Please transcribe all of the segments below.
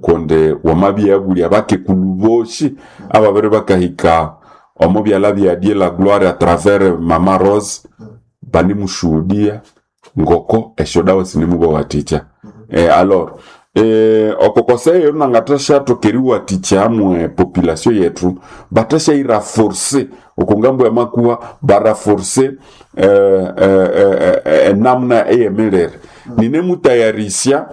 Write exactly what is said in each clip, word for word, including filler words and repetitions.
Kundi wamabya yabulya abakekulu bosi ababiri bakahika omo byalha bya Dieu la Gloire à travers Mama Rose, banimushuhudia ngoko esyodawa sinimubawathikya. eh, alors eh, oko conseil nangathashathoka eriwathikya amwe population yetu, bathasyayirenforcer oko ngambo ya makuha, barenforcer eh, eh, eh, eh, enamuna eyemirire. Ninemutayarisya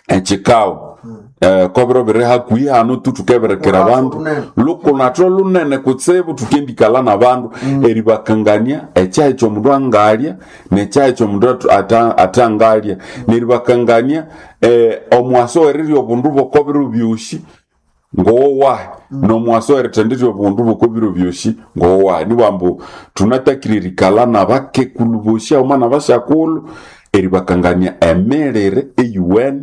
ekikawo eh, kobiro biri hakuhi hano tu tukebirekera Lurafu abandu lunene. Lukunatho lunene kutsibu, tukendikala nabandu eribakangania ekyahi kyomundu angalya nekyahi kyomundu atu- ata- atangalya, neribakangania eh, omwaso werirya obundu bwokobiro byosi ngowowahi, nomwaso werithendirya obundu bwokobiro byosi ngowowahi. Nibwambu tunatakire erikala nabakekulu bosi haghuma nabasyakulhu eribakangania emirire eyuwene.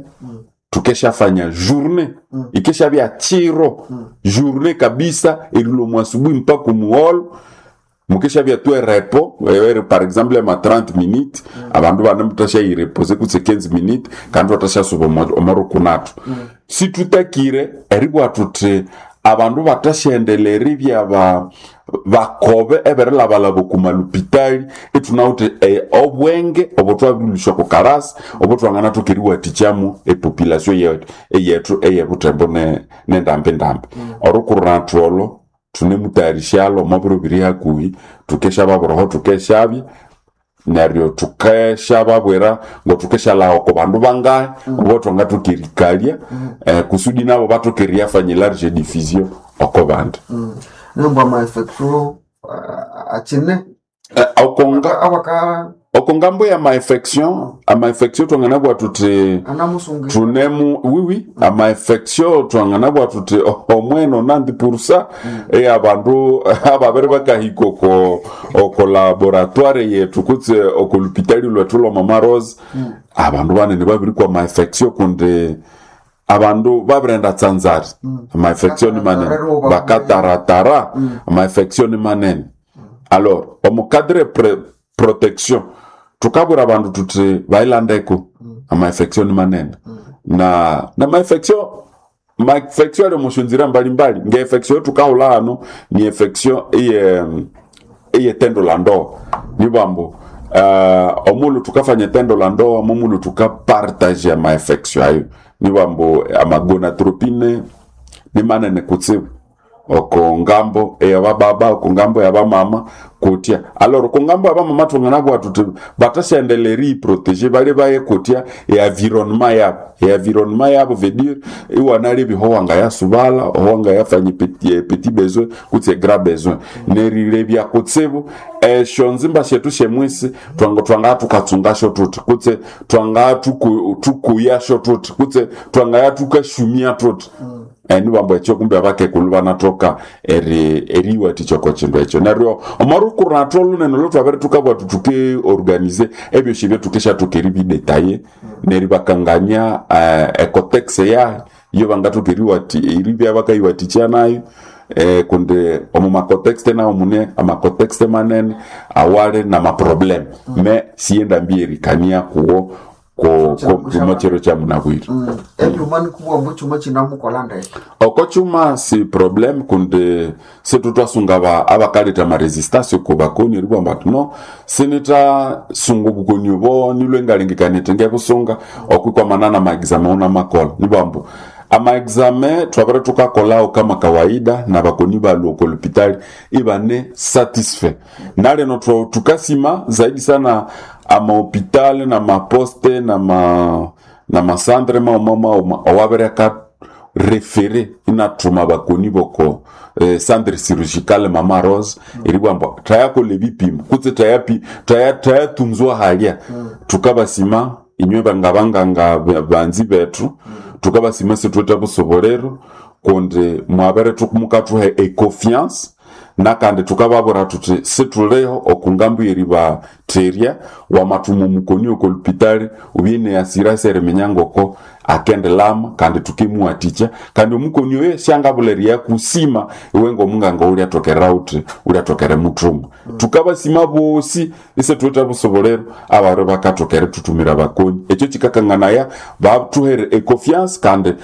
Tukeshafanya journée, ikeshabya chiro, journée kabisa, erilwa mu asubuhi mpaka muholo. Mukeshabya tu erepos ere, par exemple ma trente minutes, abandu bane mutashayireposer kutse quinze minutes, kandi batashasuba omorukunathu. Situtakire eribwa tuthi abandu batashendelera eribya ba bakobe eberilhabalhaba oku malupitali. Ithunawithe eh, obwenge obo twabirilusya oko karasi obo twanganathoka eriwathikyamu epopulation yethu eyethu eyebuthembo ne- nendambi-ndambi. Orukurunathu olo thunemutayarishyalo omo biro biri hakuhi. Thukeshababuraho, thukeshabya neryo thukeshababwira ngothukeshalhaha oko bandu bangahi obo thwangathoka erikalya eh, kusudi nabo bathoka eriyafanya large diffusion oko bandi. Nembwa amainfection akine Eh, okonga awaka oko ngambo ya mainfection, amainfection twanganabwa thuthi anamusungi. Thunemu wiwi amainfection, twanganabwa thuthi omwe nonante pour cent eyabandu ababiri bakahika oko oko laboratoire yethu kutse oko lupitali lwethu lwa Mama Rose, abandu banene babirikwa amainfection, kundi abandu babirenda tsanzari. Amainfection ni manene. Bakataratara. Bakataratara, amainfection ni manene. Alors omu cadre pre protection tukabwira abandu tuthi bayilandeko, amainfection ni manene. Na na mainfection mainfection ali omusyonzira mbalimbali, nge infection tukahula hano ni infection iye iye tendo la ndoa. Ni bambo uh, omulu tukafanya tendo la ndoa, momulu tukapartage amainfection ayo. Ni bambo amagonadotropine ni manene kutsibu oko ngambo eyabababa, oko ngambo yabamama kutya. Alors oko ngambo yabamama twanganabwa tuthi batasyaendelera eriyiprotéger, bali baye kutya e-environnement yabo. E-environnement yabo veut dire iwanalebya oho wangayasubala, oho wangayafanya petit, petit besoin kutse grand besoin, nerilebya kutsibu esyo nzimba syethu syemwisi twanga twangaya tukatsungasyo tuthi, kutse twangaya tuku- tukuyasyo tuthi, kutse twangaya tukashumia tuthi. mm. Nibambo ekyo kumbe abakekulu banathoka eri eriyiwathikya oko kindu ekyo. Neryo omorukuratho olunene olwethwabere tukabwa thuthi tukiorganize ebyosi ebyo, tukeshathoka eribidétailler neribakangania uh, eCotex yayo iyo bangathoka eriwati eribya bakayiwathikya nayo eh, kundi omu macontexte nawo mune amacontexte manene awali namaproblème mm. Me siyendambi erikania kuwo ko ko kumachero cha munabwire. Ebyuma nikubwa mbu chuma chinamukola ndeke. Oko chuma si problème, kundi situ twasunga ba abakaleta amarésistance ku bakoni eribwamba ati no sinitasunga obukoni obo nilwe ngalengekanite ngebusunga okwikwamana na maexamen una makola. Nibwambu amaexamen twabere tukakolao kama kawaida na bakoni balwa oko lupitali ibane satisfait. Naleno twa- tukasima zaidi sana amahôpital na maposte na ma na macentre mauma mauma owabere aka référé inathuma bakoni boko eh, centre chirurgical Mama Rose, eribwamba thayakola ebipimo kutse thayapi thaya thayatunzwa halya. Tukabasima inywe bangabanganga banzi bethu, tukabasima sithwethe busobolero kundi mwabere mukathuha econfiance. Nakandi tukababwira thuthi situliho okungambo yeribatherya wamathuma omukoni oko lupitali ubye neasirasi eriminya ngoko akendilama, kandi tukimuwathikya, kandi omukoni oyo syangabulha eriyakusima iwe ngomunganga ulyatokera uthi ulyatokera muthuma. Tukabasima bosi isithuwithe busobolero abari bakatokera thuthumira bakoni. Ekyo kikakanganaya bathuhere econfiance kandi